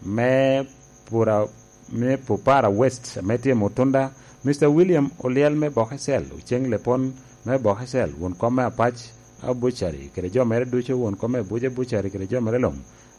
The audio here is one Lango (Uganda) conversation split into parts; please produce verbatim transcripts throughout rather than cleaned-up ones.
me Pura-, me Pupara West ame tye i Mutunda, Mister William Olyel me Bokecel, Oceng Lepon me Bokecel, won kom me Apac Abucari, kede jo mere ducu, won kom me Abuja Bucari, kede jo mere luŋ.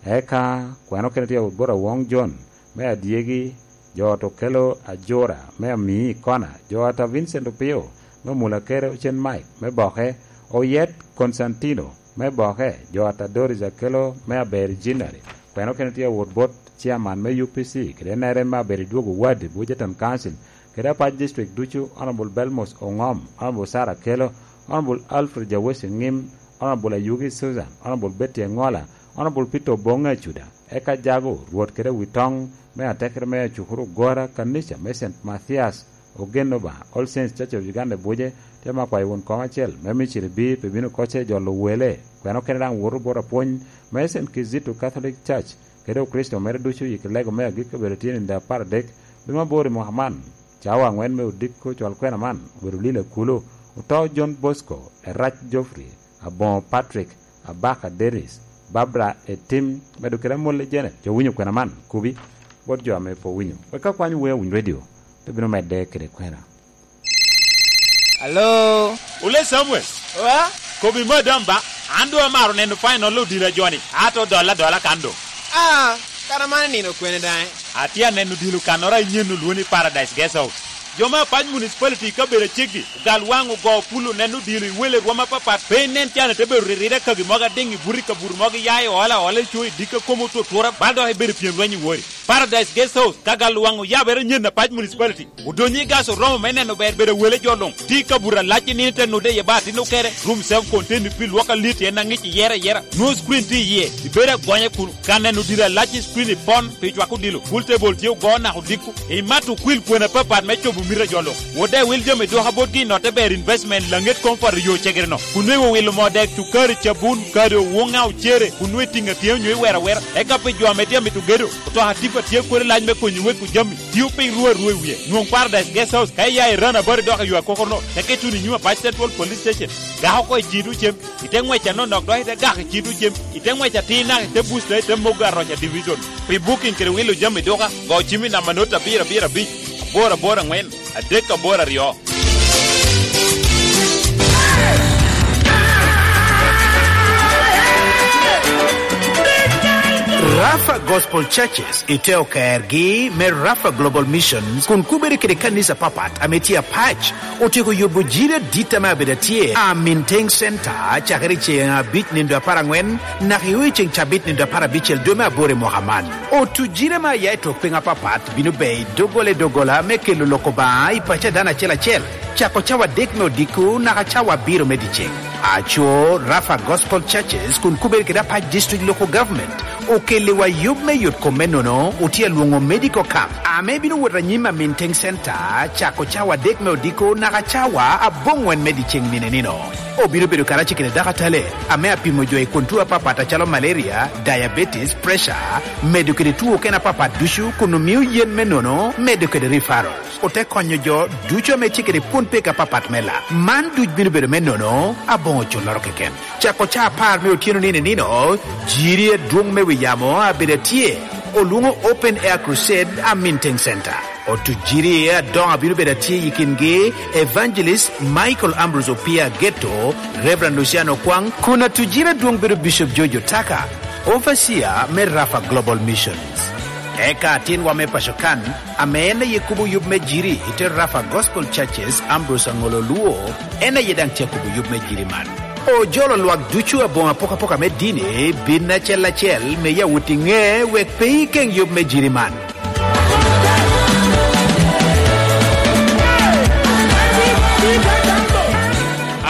Eka kweno kene tye awot bot Awong John me Adyegi, jo ot Okelo Ajura me Amii Kona, jo ot a Vincent Opio me Mula Kere, Ocen Mike me Boke, Oyet Constantino me Boke, jo ot a Doris Akelo me Aber Jinari. Kweno kene tye awot bot chairman me U P C, kede N R M me Aberi Dwogo Ward, Buja Town Council, kede Apac District ducu, Honorable Belmos Ongom, Honorable Sarah Kelo, Honorable Alfred Jawesi Ngim, Honorable Ayugi Susan, Honorable Betty Engola, Honorable Peter Obonge Acuda, eka Jago, Rwot kede Witoŋ me Atekere me Acukuru Gora, Kanica me Saint Mathias, Ogen Obaŋa, All Saints Church of Uganda Buje, te ma kwayo won kom acel me Misiri bi pi bino kocce jolo wele, kweno kene daŋ woto bot apwony me Saint Kizito Catholic Church, kede Okricito mere ducu i lego me agikki obedo tye nino apar adek, dwe me aboro i mwaka man, cawa aŋwen me odiko cwal kwena man obedo lilo akulu, oto John Bosco, Erac Geoffrey, Aboŋo Patrick, Abaka Dennis, Barbara Etim, medo kede Amolle Janet, jo winyo kwena man, kubi, bot jo ame pe owinyo. Wek ka kwany wea winy redio, te bino medde kede kwena. Alo? Ole Samuel. Wa? Kobi madam ba, an doŋ amaro neno final odira joni, ato dola dola kan doŋ. Ah, kara man nino kwene daŋ? Atye aneno dilo kannoro a inyen olwoni Paradise Guest House. Jo me Apac Municipality i kabedo aceggi, ogal waŋ ogo pul oneno dilo i wele rwom apapat, pe inen can ite bedo ririra kagi mogo adiŋ i buto i kabuto mogo iya i ola ola i co i dikka kom otutwura, bal dok ibedo pyem lweny i wori. Paradise Guest House, ka gal waŋ oyabere nyen Apac Municipality, odonyo i gas oromo me neno ber bedo wele jo luŋ. Tye i kabuto alac i nino ite nude iye ba atin okere, room self contained pi lwok alit en aŋic iyere ayera. Nwoŋo screen tye iye, ibedo agonya kunu. Ka neno diro alac i screen i pon pi cwako dilo, pool table tye ogo naka odiko. Imato okwil kwena apapat me cobo mito a jo luŋ. Wot daŋ iwil jami dwoka botgi i notte ber investment laŋet comfort i yo cegere-no. Kun nwoŋo iwilo moo dek, cukari, cabun, kado, wuŋa, ocere, kun nwoŋo itiŋo atyea onyo iwero awera. Eka pi jo ame tye amito gedo, otoka tipa tye kodi lac me konyi weko jami. Tio piny rwo arwo i wie. Nwoŋ Paradise Guest House ka iya i Rana Bari dok i yo akokoro-no, teke ituno i nyim Apac Central Police Station. Gak oko i Cido cem, ite ŋwec anonok dok ite gak i Cido cem, ite ŋwec atir naka ite Bush dok ite Mogo Aroca Division. Pi booking kede wilo jami duka, go cim i namba not abiro abiro abic, aboro aboro aŋwen, adek aboro aryo. Rafa Gospel Churches i te okergi me Rafa Global Missions kun kubere kede kanisa papat ame tye apac otyeko yubo jiri adit ame abedo atye a Minteng Center cakere i ceŋ abic nindo apar aŋwen naka i ceŋ cabit nindo apar abicel dwe me aboro i mwaka man. Otujire me aya i tok piny apapat bino ber i doggola i doggola me kelo lok Obaŋa i paco a dano acel acel, cako cawa adek me odiko naka cawa abiro me dyeceŋ. Aco, Rafa Gospel Churches kun kubere kede Apac District Local Government okelliwa yub me yot kom me nono, otye alwoŋo medical camp, ame bino wot anyim a Minteng Center, cako cawa adek me odiko naka cawa aboŋwen me dyeceŋ nino nino. Obino bedo karacel kede dakatale ame apimo jo i kwon tuo apapat acalo malaria, diabetes, pressure, medo kede tuo okene apapat ducu kun omio yen me nono medo kede referrals. Ote konyo jo ducu ame tye kede pwon pek apapat me lak. Man duc bino bedo me nono aboŋo culloro keken. Cako ca apar me otyeno nino nino, jiri adwoŋ me wi yamo abedo atye, olwoŋo Open Air Crusade a Minteng Center. Otujiri adoŋo abino bedo atye i kingi Evangelist Michael Ambrose Opia Geto, Reverend Luciano Kwang, kun atujiri adwoŋ bedo Bishop George Otaka, Overseer me Rafa Global Missions. Eka atinwa me paco kan, ame en aye kubo yub me jiri i te Rafa Gospel Churches, Ambrose Angolo Luo, en aye daŋ tye akubo yub me jiri man. Ojolo lwak ducu aboŋo apokapoka me dini bin acel acel me yawot i ŋe wek pe ikeŋ yub me jiri man.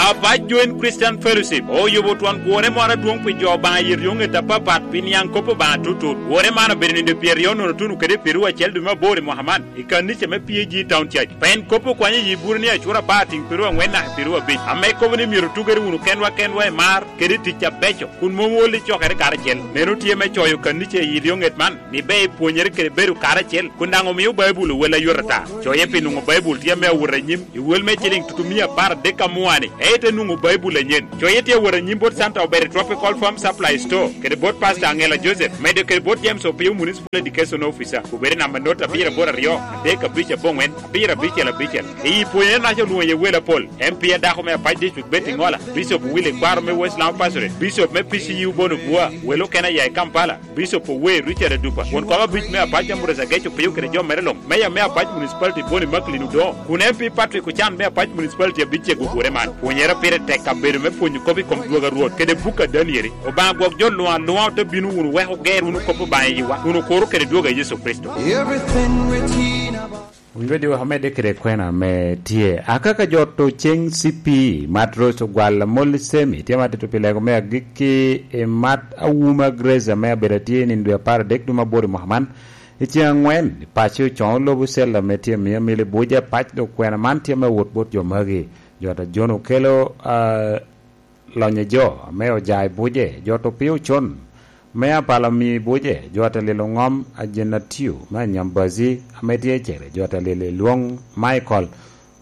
Abac Joint Christian Fellowship oyubo twon gure moro adwoŋ pi jo Obaŋa i ryoŋet apapat pi niaŋ kop Obaŋa tutut. Gure man obedo nino pyeraryo nono tuno kede pyeraryo acel dwe me aboro i mwaka man i kanica me P A G Town Church. Pien kop okwanyo i yi bur ni acura apar tiŋ pyeraryo aŋwen naka pyeraryo abic, ame kobo ni myero otugere wunu kenwa kenwa i mar kede i tic abeco, kun mom wol i cokere karacel. Meno tye me coyo kanica i ryoŋet man, ni ber ipwonyere kede bedo karacel, kun daŋ omio Baibul owel ayot ata. Coye pi nwoŋo Baibul tye ame awot anyim i wel me ciliŋ tutumia apar adek amua-ni, ento Nwoŋo Baibul anyen. Coye tye awot anyim bot Santa Obere Tropical Farm Supply Store, kede bot Pastor Angela Joseph, medo kede bot James Opio Municipal Education Officer, obed i namba not abiro aboro aryo, adek abic aboŋwen, abiro abicel abicel. I pwonyere naca olwoŋo iye wel apol, M P a dako me Apac District Betty Ngola, Bishop Willie Kwaro me West Lamu Pastorate, Bishop me P C U Bono Bua, wel okene aya i Kampala, Bishop Owe Richard Adupa, won kom abic me Apac Ambrose Ageco Pio kede jo mere luŋ, Meya me Apac Municipality Boni Macklin Odongo, kun M P Patrick Ocan me Apac Municipality abic cego gure man. Pwonyere pire tek kabedo me pwonyo kop i kom dwogo a Rwot kede buk a Danieli. Obaŋa gwok jo luŋ aluŋa ote bino wunu wek oger wunu kop Obaŋa i yiwa, kun okuro kede dwogo a Yecu Kricito. Everything written about Winyo di wek omedde kede kwena ame tye. Akaka jo to ceŋ C P, Matros Ogwal Amol Semi, tye ma tito pi lego me agikki i Mat Awuma Grace ame abedo atye i nino dwe apar adek dwe mabor i mwaka man. I ceŋ angwen, i paco coŋo lobo cel ame tye miyo mili buc apac dok kwena man tye me wot bot jo magi. Jo ta John okelo, ah, lonyo jo ame oja i buce, jo to pio con, me apalo mi buce, jo ata lilo ŋom a Jenatio, me Anyambazi, ame tye i Cere, jo ata lilo i Lwoŋ Michael,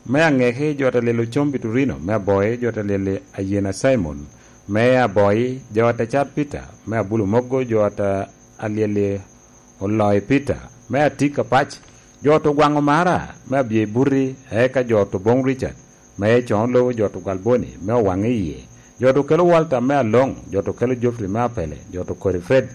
me Aŋeki, jo ata lilo Combi Turino, me Aboi, jo ata lilo Ayena Simon, me Aboi, jo ata Cat Peter, me Abulu Mogo, jo ata alyel i Oloi Peter, me Atik Apac, jo to gwaŋo Mara, me Abye Buti, eka jo to boŋ Richard, me Coŋo Lobo, jo to gwal Boni, me Owaŋ i Yie, jo to kelo Walter, me Aloŋ, jo to kelo Geoffrey, me Apele, jo to kodi Fred,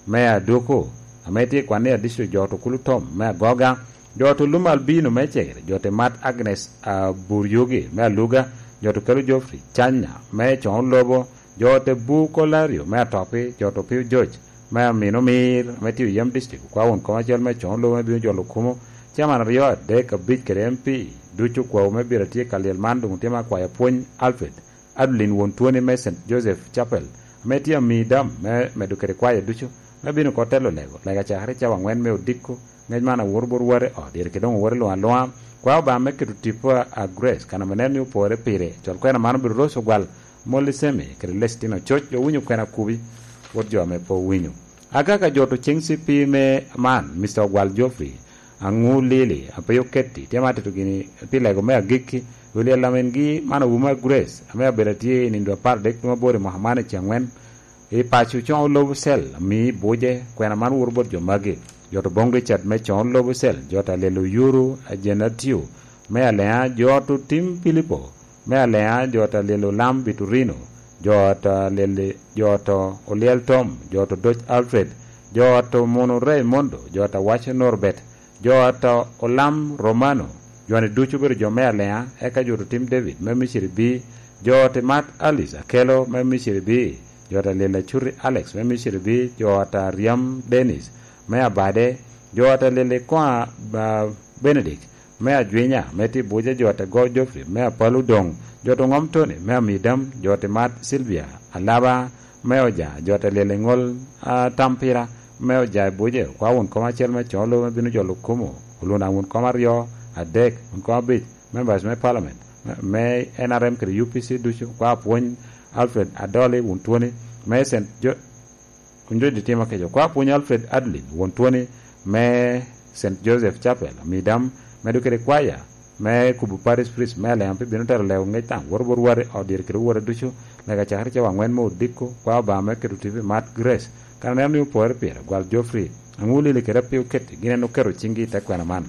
me Aduku, ame tye i kwan ni Adicto, jo to kulu Tom, me Agoga, jo to lum Albino, me Cegere, jo to mat Agnes Aburyogi, me Aluga, jo to kelo Geoffrey, Canya, me Coŋo Lobo, jo te bu Kolario me Atopi, jo to pio Joc, me Amino Mir, ame tye i Oyem District, okwa won kom acel me Coŋo Lobo me bino jolo kumo, caman aryo, adek, abic kede M P, ducu okwawu me biro atye ka lyel man doŋ otye me akwayo apwony Alfred Adlin won Twoni me Saint Joseph Chapel, ame tye ami dam me medo kede kwayo ducu, me bino oko telo lego, lega cakere cawa angwen me odiko, ngec man awoto bot wate ot, iri kede doŋ owoto luŋ aluŋa, kwa Obaŋa me keto tipo a, a Grace, kan ame nen ni opore pire, col kwena man obedo Rose Ogwal, Molly Semi, kede Lestino Coc, owinyo kwena kubi, wot jo ame pe owinyo. Akaka jo to ceŋ C P me man, Mister Ogwal Geoffrey, Aŋu Lili, a pe oketti, tye ma atito gini pi lego me agikki, William Lamin gi man Awuma Grace, ame abedo atye i nindo apar adek dwe mabor i mwaka man i ceŋ angwen, i paco coŋo lobo cel, ami buce, kwena man woto bot jo magi, jo to boŋ Richard me coŋo lobo cel, jo ta lelo Yuru, Ajenatio, me Alea, jo to tim Pilipo, me Alea, jo ta lelo Lam Biturino, jo ta lele, jo to Oliel Tom, jo to Doc Alfred, jo to Mono Raimondo, jo ta Waco Norbert, jo ta Olam Romano, jo-ni ducu obedo jo me Alea, eka jo to tim David, me Misiri bi, jo ta Mat Alice Akelo, me Misiri bi, jo ta lele Acuti Alex, me Misiri bi, jo ta Riam Dennis, me Abade, jo ta lele Koa, ba, Benedict, me Ajwinya, me Tibuca, jo te go Geoffrey, me Apalu Doŋ, jo te ŋom Tony, me Amidam, jo te mat Sylvia, Alaba, me Oja, jo te lyel i ŋol, a, Tampira, me Oja i Buce, kwa wun kom acel me coŋo lobo me bino jolo kumo, oluna wun kom aryo, adek, wun kom abic, members me parliament, me, me N R M kede U P C ducu, kwa apwony Alfred Adoli, wun Twoni, me Saint Jo-, Kun jo di timo keco. Kwa pwony Alfred Adlin, won Twoni me Saint Joseph Chapel, Midam, medo kede kwaya me kubo Parish Priest me Alem, pe bino tero lego ngec daŋ, woto bot wari, ot dyere kede wora ducu, lega cakere cawa angwen me odiko, kwa Obaŋa me keto tipo i mat Grace. Kan oneno ni opore pire, gwal Geoffrey, aŋu lili kede ape oketi, gin en oketo ciŋgi i te kwena man.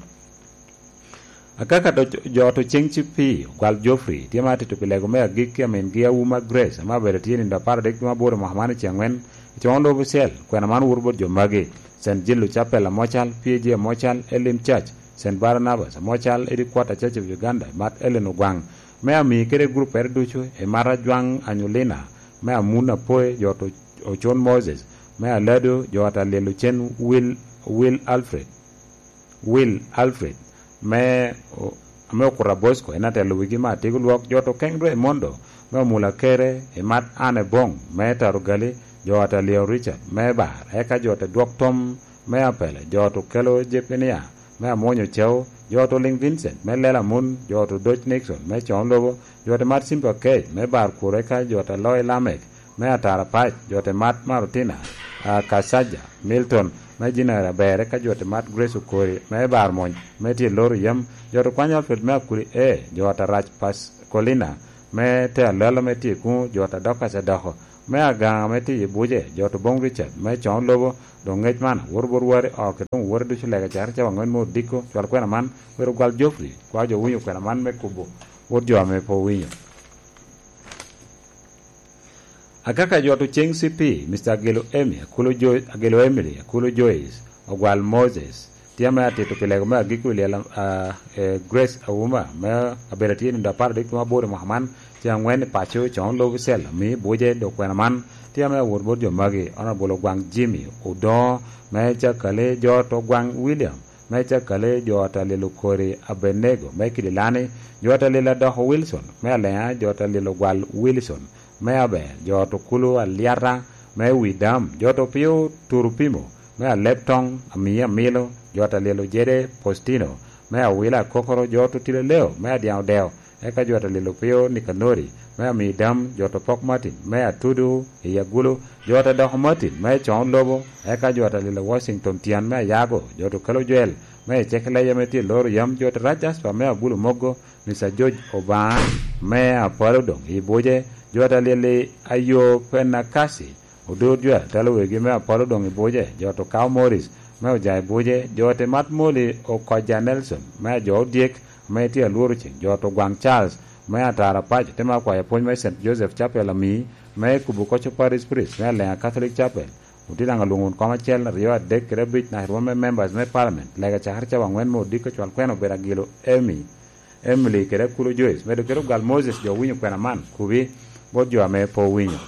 Akaka do-, jo to ceŋ ci pi, gwal Geoffrey, tye ma atito pi lego me agikki a mingi Awuma Grace, ame abedo tye nindo apar adek dwe aboro mwaka man i ceŋ angwen, i coŋo lobo cel, kwena man woto bot jo magi, Saint Jilu Chapel Amocal, P A G Amocal, Elim Church, Saint Barnabas Amocal, Edi Quarter Church of Uganda, Mat Ellen Ogwaŋ, me ami kede gruppere ducu, i Mat Ajwaŋ Anyolina, me Amun Apoe, jo to Ocon Moses, me Alado, jo ata Liel Ocen Will, Will Alfred. Will Alfred, me, ame okuto a Bosco, en atelo wigi me atiko lwok, jo to Keng Raimondo, me omula kere, i mat Anne Bong, me Tarugali, jo ata Leo Richard, me Bar, eka jo te dwok tom, me Apele, jo to kelo Jepenia, me Amwonyo Ceu, jo to Ling Vincent, me Lela Mun, jo to Doc Nixon, me Coŋ Lobo, jo te mat Simba Kec, me Bar Kuro, eka jo te Loy Lamek, me Atara Pac, jo te mat Marutina, a, Kasaja, Milton, me Jinari Aber, eka jo te mat Grace Okori, me Bar Mony, me tye loro yam, jo te kwanyo Alfred me Akuli, e, jo te rac Pascolina, me te alalo me tye kuŋ, jo ta dok kaca doko, me agaŋa me tye i buce, jo to boŋ Richard, me coŋ lobo, doŋ ŋec man, woro bot wari, oko doŋ wori ducu lega cakere cawa aŋwen me odiko, cwal kwena man, wero gwal Geoffrey, kwa jo winyo kwena man me kubo, wot jo ame pe owinyo. Akaka jo to ceŋ C P, Mister Agelo Emi, Akulo Jo-, Agelo Emily, Akulo Joyce, Ogwal Moses, tye ame atito pi lego me agikki i lyel, a, e, Grace Auma, me abedo atye i nino apar adek tumo aboro i mwaka man, tye aŋwen i paco, coŋ lobo cel, ami buce, dok kwena man, tye ame awot bot jo magi, Honorable Ogwaŋ Jimmy, Odoŋo, me Cakale, jo to Ogwaŋ William, me Cakale, jo ta lilo Kori Abenego, me Kidilani, jo ta lilo Adoko Wilson, me Aleŋa, jo ta lilo Gwal Wilson, me Aber, jo to Kulu Alyata, me Widam, jo to Pio Turupimo, me Aleb Toŋ, Ami Amilo, jo ta lilo Jede Postino, me Awila Kokoro, jo to Tilo Leo, me Adyaŋ Odeo, eka jo ta lilo Pio Nikanori, me Ami Dam, jo to Pok Martin, me Atudu i Agulu, jo ta Doko Martin, me Coŋ Lobo, eka jo ta lilo Washington Tyan, me Ayago, jo to Kelo Jwel, me Ecek Leja, me tye loro yam, jo ta Rac Jasper, me Agulu Mogo, Mister George Obaŋa, me Apolo doŋ i buce, jo ta lili Ayo Penakasi, Odur Jwel, telo wegi me Apolo doŋ i buce, jo to Kao Morris, me Oja i buce, jo te Mat Moli Okoja Nelson, me Ajo Odyek, ame tye alworo ceŋ, jo to Gwaŋ Charles, me Atara Paco, te ma kwayo apwony me Saint Joseph Chapel Ami, me Kubu Koco Parish Priest, me Aleŋa Catholic Chapel, otye daŋ alwoŋo wun kom acel, aryo, adek, kede abic, naka rwom me members me parliament, lega cakere cawa aŋwen me odiko cwal kwena obedo Agilo Emi, Emily kede Akulo Joyce, medo kede Ogal Moses, jo owinyo kwena man, kubi, bot jo ame pe owinyo.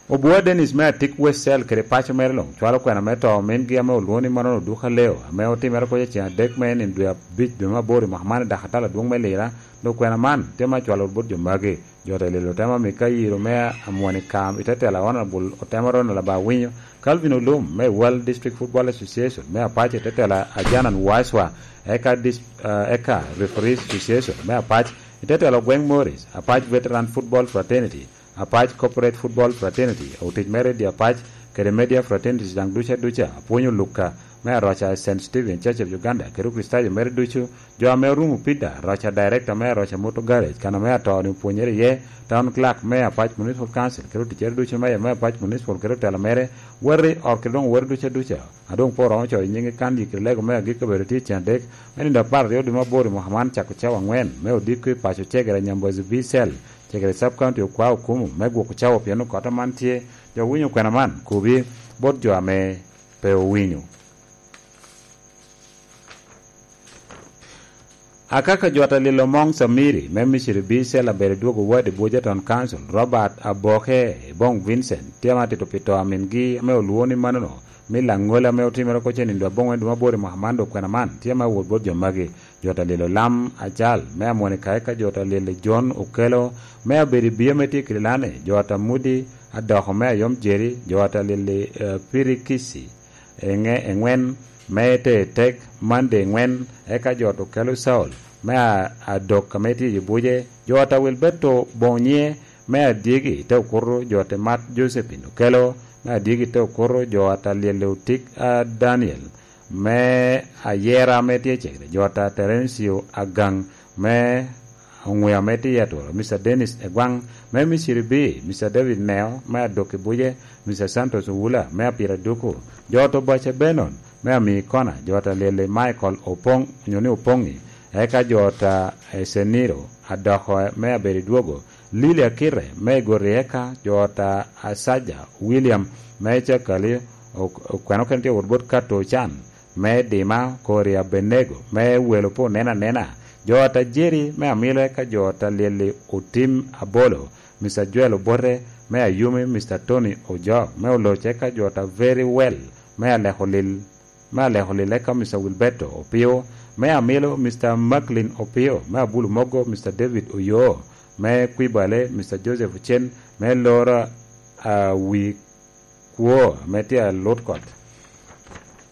Obua Dennis me Atik West Cell kede paco mere luŋ cwalo kwena me to omingi ame olwoŋo ni manono Duka Leo, ame otimere koc i ceŋ adek me nino dwe abic dwe me aboro i mwaka man i dakatala adwoŋ me Lira, dok kwena man tye me acwalo bot jo magi. Jo te lelo temo ame ka yiro me amwoni kam i te tela Honorable Otemo Ronald Abawinyo, Calvin Olum me World District Football Association me Apac i te tela Ajanan Waswa, eka dis-, eh, eka Referees Association me Apac i te tela Ogweng Morris, Apac Veteran Football Fraternity, Apac Corporate Football Fraternity, otic mere di Apac, kede media fraternities daŋ duca duca, apwonyo Luka me aroca Saint Stephen Church of Uganda, kede Okricitayo mere ducu, jo ame orumo Peter, aroca director me aroca Motor Garage, kan ame atoni opwonyere iye, Town Clerk me Apac Municipal Council, kede oticere ducu me, me Apac Municipal, kede otela mere, wati ot kede doŋ wati duca duca, a doŋ pe oromo coyo nyiŋe kan yikiri lego me agikki obedo tye i cen adek, me nino apar aryo dwe me aboro i mwaka man cako cawa aŋwen, me odiko i paco Cegere Nyambozi B Cell, Cegere Sub County okwa okumo me gwoko cawa pien okot aman tye, jo winyo kwena man, kubi, bot jo ame pe owinyo. Akaka jwat alilo Mong Samiri me Misiri B Cell abedo dwogo wadi Buja Town Council, Robert Aboke Bong Vincent, tye ama tito pi to amingi ame olwoŋo ni manono, me Laŋola ame otimere koc i nino aboŋwen dwe me aboro i mwaka man dok kwena man, tye ama wot bot jo magi. Jwat alilo Lam Acal me Amwonika, eka jwat alilo John Okelo me abedo i Bia me tye Kililani, jwat Amudi Adoko me Ayom Jeri, jwat alili, eh, Pirikisi, eŋe-, eŋwen, me te tek Mande eŋwen, eka jot okelo Saul, me a-, adok ame tye i buce, jot a Wilberto Bonye, me adyegi te okuto, jot emat Josephine okelo, me adyegi te okuto, jot a lyelle otik a Daniel, me ayera ame tye cegere, jot a Terencio Agaŋ, me Oŋwea me tye i atworo, Mister Dennis Egwaŋ, me Misiri B, Mister David Neo, me adok i buce, Mister Santos Owula, me apira duku, jot Obaca Benon, me ami kona, jot a Lele Michael Opoŋ, onyo ni Opoŋi, eka jot a Eseniro, adoko me abedo i dwogo, Lili Akite, me igoti eka, jot a Asaja William, me Cakali, ok-, okweno kene tye wot bot Kato Ocan, me Dima, Kori Abenego, me welo pe onen anena, jo ata Jerry, me Amilo eka jo ata Lyelli Otim Abolo, Mister Joel Obote, me Ayumi, Mister Tony Ojok, me Oloc eka jo ata Very Well, me Aleko Lil, me Aleko Lil eka Mister Wilberto Opio, me Amilo, Mister Macklin Opio, me Abulu Mogo, Mister David Oyoo, me Kwibale, Mister Joseph Ocen, me Lora, ah, wi kwo ame tye alut kot.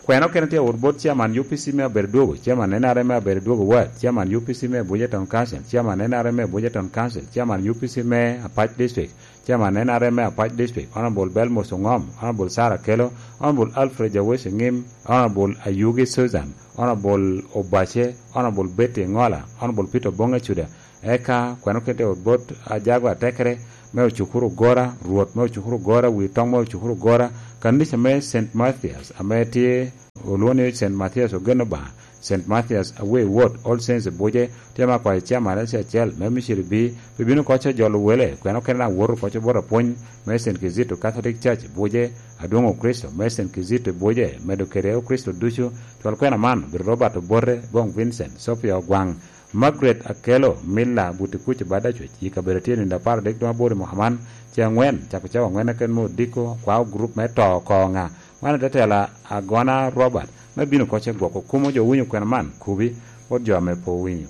Kwena okene tye awot bot chairman U P C me Abedo Dwogo, chairman N R M me Abedo Dwogo Ward, chairman U P C me Abuja Town Council, chairman N R M me Abuja Town Council, chairman U P C me Apac District, chairman N R M me Apac District, Honorable Belmos Ongom, Honorable Sarah Kelo, Honorable Alfred Jawesi Ngim, Honorable Ayugi Susan, Honorable Obache, Honorable Betty Ngola, Honorable Peter Bonga Chuda, Eka kweno kede ot bot ajago atekere me ocukuru gora, rwot me ocukuru gora, wi toŋ me ocukuru gora, kanica me Saint Mathias ame tye olwoŋo ni Saint Mathias ogen Obaŋa, Saint Mathias Away Ward, All Saints i Buje, tye ma kwayo chairman acel acel me miciri bi, pi bino koco jolo wele, kweno kene daŋ woto koco bot apwony me Saint Kizito Catholic Church i Buje, adwoŋ Okricito me Saint Kizito i Buje, medo kede Okricito ducu, twal kwena man, Biro Robert Obote, Bong Vincent, Sophia Ogwaŋ, Margaret Akelo, Milla Butikuc Badacwec, i kabedo tye nindo apar adek doŋ aboro i mwaka man, ce aŋwen, cako cawa aŋwen eken me odiko, kwao gurup me to oko ŋa. Wan i te tela agona Robert, me bino koc e gwoko kumo jo winyo kwena man, kubi, bot jo ame pe owinyo.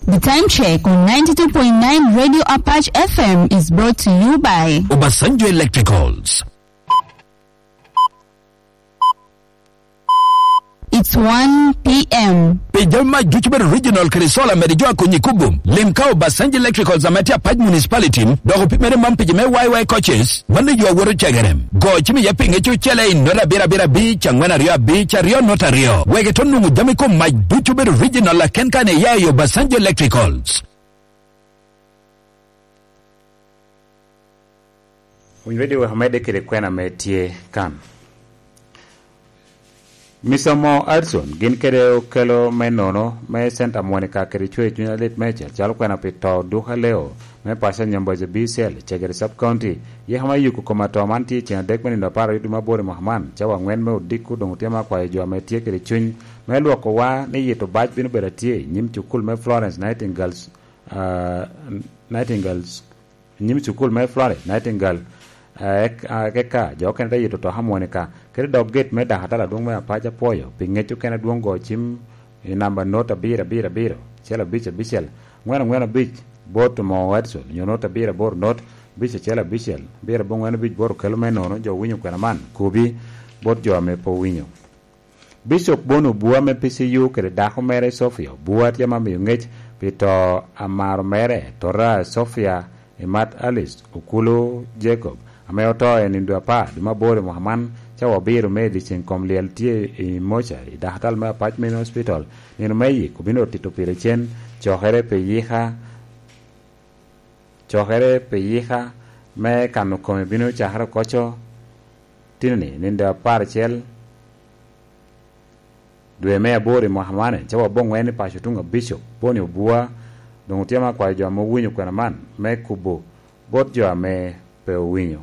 The time check on ninety-two point nine Radio Apache F M is brought to you by Obasanjo Electricals. It's one p.m. Pi jami mac ducu bedo original kede sola, mede jo akonyi kubo. Lim ka Obasanjo Electricals ame tye Apac Municipality, dok opimere man pi jo me Y Y coaches, mano yo awoto cegere. Go cim iye pi ŋec ocele i nota abiro abiro abic, angwen aryo abic, aryo nota aryo. Wek ito nwoŋo jami kom mac ducu bedo original aken kan iya i Obasanjo Electricals. Winy Radio wek amedde kede kwena ame tye kan. Misomo Adson gin kede okelo me nono me Santa Monica kede cwer cuny alit meicel calo kwena pi to duka leo me paco Nyamboja B C L, Cegere Sub County. Yeka me yuko kom ato man tye i ceng adek me nino apar aryo dwe me aboro i mwaka man, cawa angwen me odiko doŋ otye me akwayo jo ame tye kede cuny me lwokowa ni yito bac bino bedo atye i nyim cukul me Florence Nightingale's, ah, Nightingale's nyim cukul me Florence Nightingale, eh, ek-, ah, eka jo okene te yito to Harmonica, kede dog gate me Dakatala adwoŋ me Apac. Apwoyo pi ŋec okene adwoŋ go cim i namba not abiro abiro abiro, acel abic abicel, angwen angwen abic, bot Mo Edson, onyo not abiro aboro not, abic acel abicel, abiro abongwen abic bot okelo me nono jo winyo kwena man, kubi, bot jo ame pe owinyo. Bicop Bon Obua me P C U kede dako mere Sophia Obua tye ma miyo ŋec pi to amaro mere, tota Sophia Imat Alice Okulu Jacob, ame oto i nino dwe apar dwe me aboro i mwaka man, cawa abiro me i dyeceŋ kom lyel tye i moca i dakatal me Apac Main Hospital. Nino me yik obino tito pire cen, cokere pi yika, cokere pi yika me kano kome bino cakere okoco tinoni, nino dwe apar acel dwe me aboro i mwaka man, cawa abongwen i paco tuŋ abico, Boni Obua, doŋ otye ma kwayo jo ame owinyo kwena man me kubo bot jo ame pe owinyo.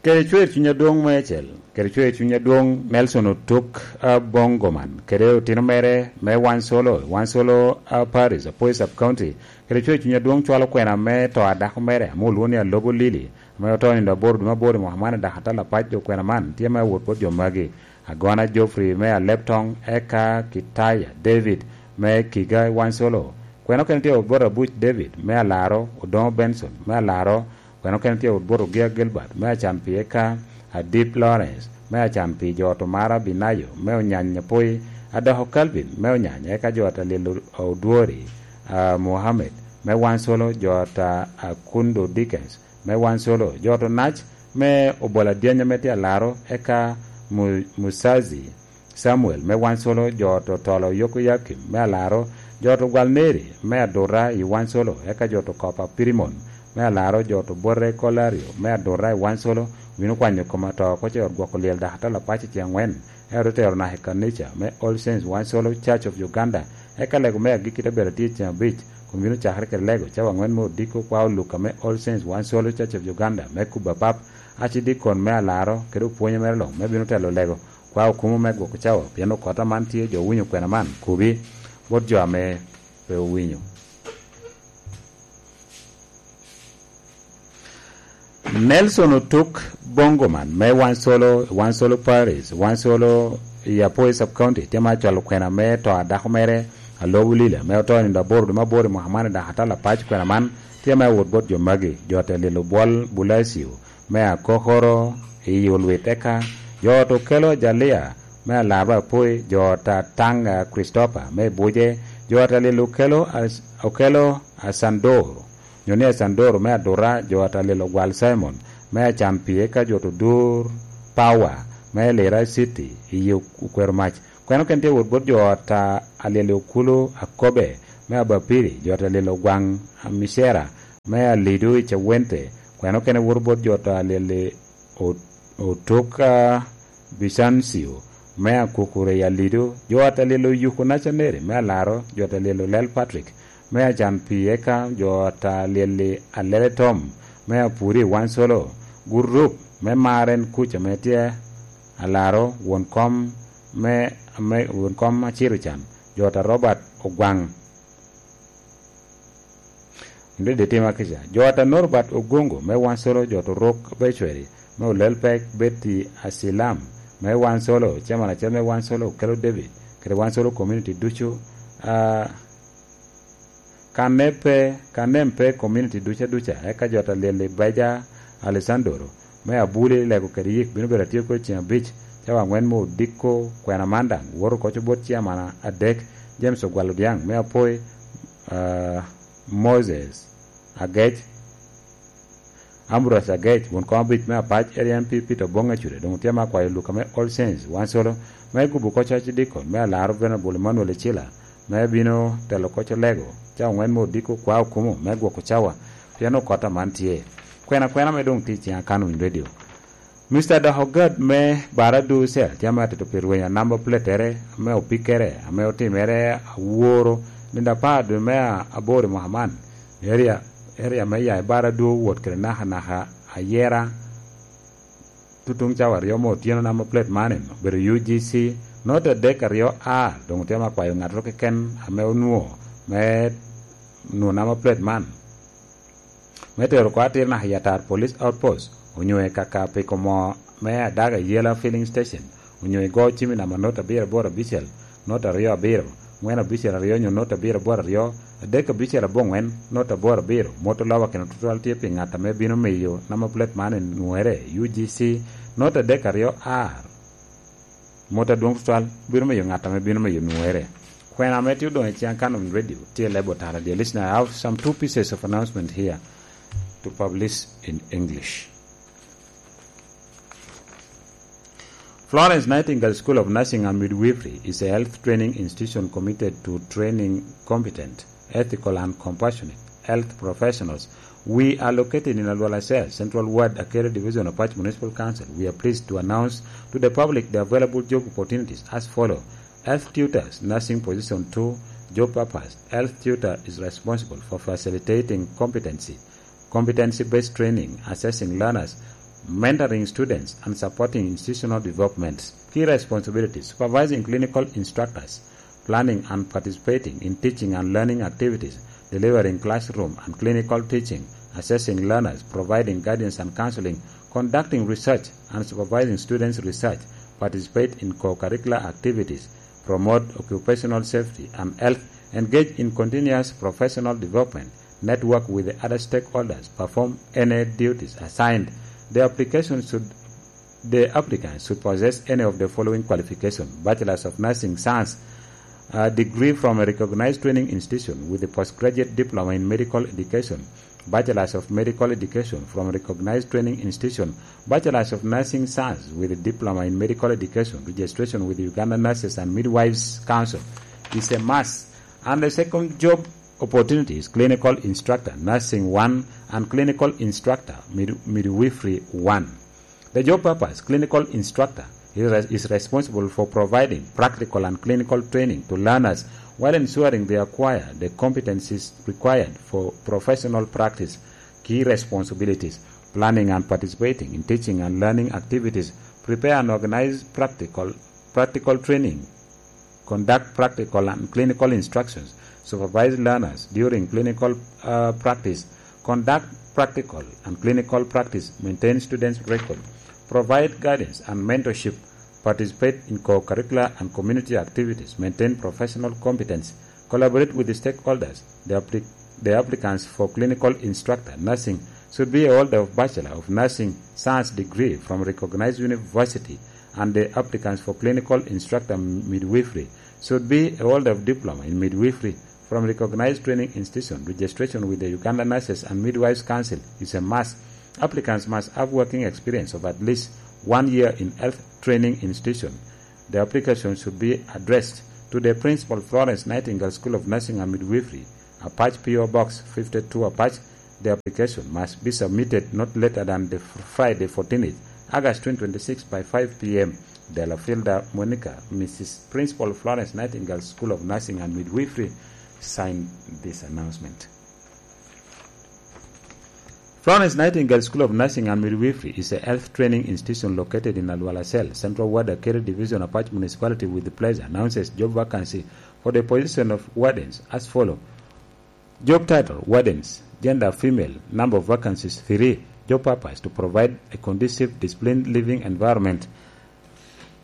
Kede cwer cuny adwoŋ meicel, kede cwer cuny adwoŋ Nelson Otuk Abongoman, kede otino mere me Wansolo, Wansolo, ah, Paris, Apoy Sub County, kede cwer cuny adwoŋ cwalo kwena me to a dako mere, ame olwoŋo ni Alobo Lili, ame oto nindo aboro dwe me aboro i mwaka man i Dakatala Apac. Dok kwena man tye me awot bot jo magi: Agona Geoffrey me Aleptong, eka Kitaya David me Kiga i Wansolo. Kwena okene tye awot bot Abuc David me Alaro, Odoŋo Benson me Alaro, kwena okene tye awot bot Ogia Gilbert me Acanpi, eka Adip Lawrence me Acanpi, jo ot Omara Binayo me Onyany Apoi, Adoko Calvin me Onyany, eka jo ot Alil Odwori, ah, Mohammed me Wansolo, jo ot Akundo Dickens me Wansolo, jo ot Onac me Obola Dyanya me tye Alaro, eka Mu-, Musazi Samuel me Wansolo, jo ot Otolo Yokoyakim me Alaro, jo ot Ogwal Neri me Adura i Wansolo, eka jo ot Okopa Pirimon me Alaro, jo ot Obote Kolario me Adura i Wansolo, obino kwanyo kom ato oko i ot gwoko lyel Dakatala Apac i ceŋ angwen, eka otero naka i kanica me All Saints Wansolo Church of Uganda, eka lego me agikki te bedo atye i ceŋ abic, kun bino cakere kede lego cawa angwen me odiko kwao Luka me All Saints Wansolo Church of Uganda me kubo apap, acidikon me Alaro kede opwonye mere luŋ me bino telo lego kwao kumo me gwoko cawa, pien okota man tye jo winyo kwena man, kubi, bot jo ame pe owinyo. Nelson Otuk Bongoman me Wansolo, Wansolo Paris, Wansolo i Apoi Sub County, tye ma cwalo kwena me to a dako mere, Alobo Lila, me oto i nino aboro dwe me aboro i mwaka man i Dakatala Apac. Kwena man tye me awot bot jo magi: jo ot Lilo Bwol Bulacio me Akokoro i Olwit, eka jo ot Okelo Ajalia me Alarba Apoi, jo ot Atanga Christopher me Buje, jo ot Lilo Okelo As-, Okelo Asandoro, nyo ni Asandoro me Adura, jo ot Lilo Gwal Simon me Acanpi, eka jo ot Odur Power me Lira City i yi okwero mac. Kwena okene tye wot bot jo ot a Alyel Okulu Akobe me Abapiri, jo ot Alyel Ogwaŋ Amicera me Alido i Cawente. Kwena okene woto bot jo ot Alyel O-, Otuk, a, Bicancio me Akukure i Alido, jo ot Alyel Oyuku Nacaneri me Alaro, jo ot Alyel Olel Patrick me Acan Pi, eka jo ot Alyel Alele Tom me Apuri i Wansolo, gurup me Maren kuca me tye Alaro, won kom me, me, won kom Aciro Can, jo ot a Robert Ogwaŋ. Ndede tima kica. Jo ot a Norbert Ogungu me Wansolo, jo ot Orok Becweri me Olel Pek, Betty Asilam me Wansolo, chairman acel me Wansolo, Okelo David, kede Wansolo community ducu, a, Kanepe, Kanempe community duca duca, eka jo ot Alyel Beja Alessandro me Abuli, Lego kede Yik bino bedo atye kede ceng abic, cawa aŋwen me odiko kwena man daŋ woto oko bot chairman adek, James Ogwal Odiaŋ me Apoi, ah, Moses Agec, Ambrose Agec, won kom abic me Apac Area M P Peter Oboŋ Acude, doŋ tye me akwayo Luka me All Saints, Wansolo, me gubo oko coc dikon me Alaro Venerable Emmanuel Ecila, me bino telo oko Lego, cawa aŋwen me odiko kwa okumo me gwoko cawa, pien okot aman tye. Kwena kwena me doŋ tye i ciŋa kan Winy Radio. Mister Dahogad me Baradu Cell tye ame atito pi rwenyo namba pletere ame opikkere ame otimere aworo nino apar dwe me aboro i mwaka man. Area, area me ya i Baradu wot kede naka naka ayera tutuŋ cawa aryo me otyeno namba plate man obedo U G C, nota adek aryo A, doŋ tye ame akwayo ŋattoro keken ame onwoŋo me nwoŋo namba plate man. Me tero oko atir naka i Atar Police Outpost, onyo i kaka piko moo me Adaga Yela Filling Station, onyo i Go Cimi namba nota abiro aboro abicel, nota aryo abiro, ŋwen abicel aryo onyo nota abiro aboro aryo, adek abicel aboŋwen, nota aboro abiro, mot oloba keno tutwal tye pi ŋat ame bino miyo namba plate man enwoŋere, U G C, nota adek aryo R. Mot adwoŋ tutwal bino miyo ŋat ame bino miyo nwoŋere. Kwena ame tye odoŋ i ciŋ Canon Radio tye lebo tara. Dear listener, I have some two pieces of announcement here to publish in English. Florence Nightingale School of Nursing and Midwifery is a health training institution committed to training competent, ethical and compassionate health professionals. We are located in Alwala Cell, Central Ward, Akere Division of Apac Municipal Council. We are pleased to announce to the public the available job opportunities as follow. Health tutors, nursing position two, job purpose. Health tutor is responsible for facilitating competency, competency-based training, assessing learners, mentoring students, and supporting institutional development. Key responsibilities: supervising clinical instructors, planning and participating in teaching and learning activities, delivering classroom and clinical teaching, assessing learners, providing guidance and counseling, conducting research and supervising students' research, participate in co-curricular activities, promote occupational safety and health, engage in continuous professional development, network with the other stakeholders, perform any duties assigned. The application should The applicant should possess any of the following qualification: Bachelors of Nursing Science, a degree from a recognized training institution with a postgraduate diploma in medical education, Bachelors of Medical Education from a recognized training institution, Bachelors of Nursing Science with a diploma in medical education, registration with the Uganda Nurses and Midwives Council is a must. And the second job opportunity is clinical instructor, nursing one, and clinical instructor, mid-, midwifery one. The job purpose: clinical instructor is, is responsible for providing practical and clinical training to learners while ensuring they acquire the competencies required for professional practice. Key responsibilities: planning and participating in teaching and learning activities, prepare and organize practical, practical training, conduct practical and clinical instructions, supervise learners during clinical, uh, practice, conduct practical and clinical practice, maintain students' record, provide guidance and mentorship, participate in co-curricular and community activities, maintain professional competence, collaborate with the stakeholders. The applic-, the applicants for clinical instructor nursing should be a holder of Bachelor of Nursing Science degree from recognized university, and the applicants for clinical instructor midwifery should be a holder of diploma in midwifery from recognized training institution. Registration with the Uganda Nurses and Midwives Council is a must. Applicants must have working experience of at least one year in health training institution. The application should be addressed to the principal, Florence Nightingale School of Nursing and Midwifery, Apac, P O Box fifty-two, Apac. The application must be submitted not later than the fr-, Friday, fourteenth August twenty twenty-six, by five p.m. Delafielda Monica, Missus Principal, Florence Nightingale School of Nursing and Midwifery, signed this announcement. Florence Nightingale School of Nursing and Midwifery is a health training institution located in Alwala Cell, Central Ward, Akeri Division, Apac Municipality, with pleasure announces job vacancy for the position of wardens as follow. Job title: Wardens. Gender: female. Number of vacancies: three. Job purpose: to provide a conducive, disciplined living environment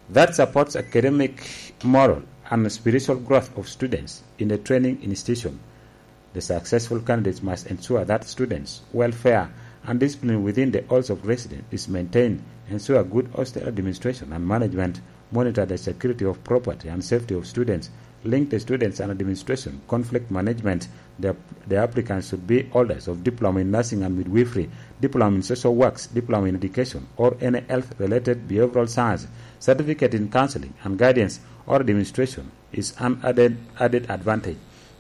that supports academic, moral, and spiritual growth of students in a training institution. The successful candidates must ensure that students' welfare and discipline within the halls of residence is maintained, ensure good hostel administration and management, monitor the security of property and safety of students, link the students and administration, conflict management. The, the applicants should be holders of diploma in nursing and midwifery, diploma in social works, diploma in education, or any health-related behavioral science, certificate in counseling and guidance or administration is an added, added advantage.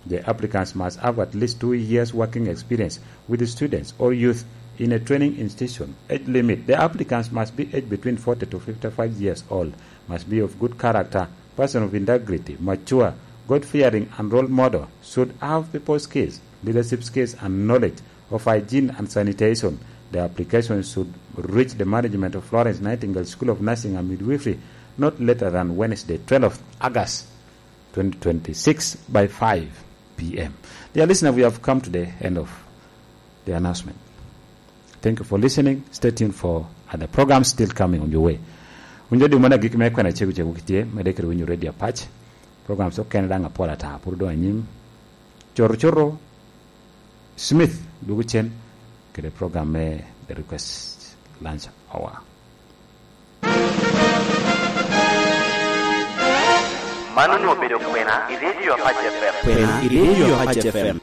The applicants must have at least two years working experience with students or youth in a training institution. Age limit: the applicants must be aged between forty to fifty-five years old, must be of good character, person of integrity, mature, God-fearing, and role model, should have people skills, leadership skills, and knowledge of hygiene and sanitation. The application should reach the management of Florence Nightingale School of Nursing and Midwifery not later than Wednesday, twelfth August twenty twenty-six, by five p.m. Dear listener, we have come to the end of the announcement. Thank you for listening. Stay tuned for other programs still coming on your way. Winjo di mana gik me kwena cegu cegu kitye, mede kede winyo Radio Apac. Programs okene daŋ apol ata, pur doŋ anyim. Coro coro, Smith dwogo cen kede program me The Request Lunch Hour. Man onwoŋo obedo kwena i Radio Apac F M. Kwena i Radio Apac F M.